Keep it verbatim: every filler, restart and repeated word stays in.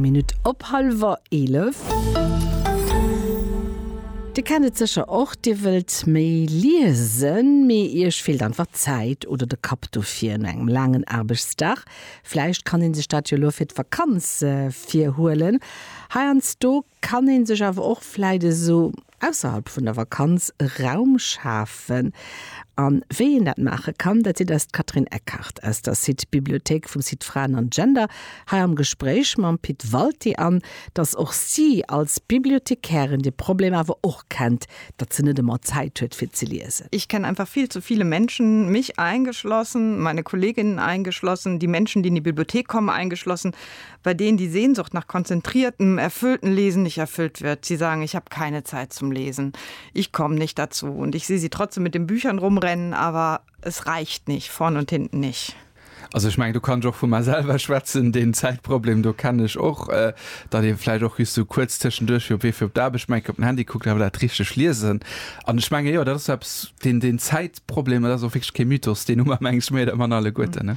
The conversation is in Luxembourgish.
Eng Minutt op hallwer eelef. Dir kennt et sécher och, Dir wëllt méi liesen, mee Iech feelt einfach d'Zäit oder de Kapp dofir no engem laangen Aarbechtsdag. Vläicht kann een sech dat jo elo fir d'Vakanz virhuelen. Heiansdo kann een sech awer och vläicht esou ausserhalb vun der Vakanz Raum schafen. An wéi een dat maache kann, dat seet eis d'Catherine Eckhardt aus der Site Bibliothéik vum Site Fraen an Gender hei am Gespréich mam Pit Walté an dass och si als Bibliothekärin de Problem awer och kennt, datt se net ëmmer Zäit huet fir ze liesen. Ich kenne einfach viel zu viele Menschen, mich eingeschlossen, meine Kolleginnen eingeschlossen, die Menschen, die in die Bibliothek kommen eingeschlossen, bei denen die Sehnsucht nach konzentriertem, erfüllten Lesen nicht erfüllt wird. Sie sagen, ich habe keine Zeit zum Lesen. Ich komme nicht dazu und ich sehe sie trotzdem mit den Büchern rumrennen, aber es reicht nicht, vorn und hinten nicht. Also ech mengen do kann ech och vu mer selwer schwätzen, den Zäitproblem do kennen ech och, äh, datt ee vläicht och just sou kuerz tëschenduerch fir op Wee fir op d'Aarbecht mengt op den Handy kuckt, awer dat richteg liesen. An ech menge jo, dat ass eppes, den, den Zäitproblem, dat ass och wierklech kee Mythos, deen hu mer meng ech méi oder manner alleguerten, ne?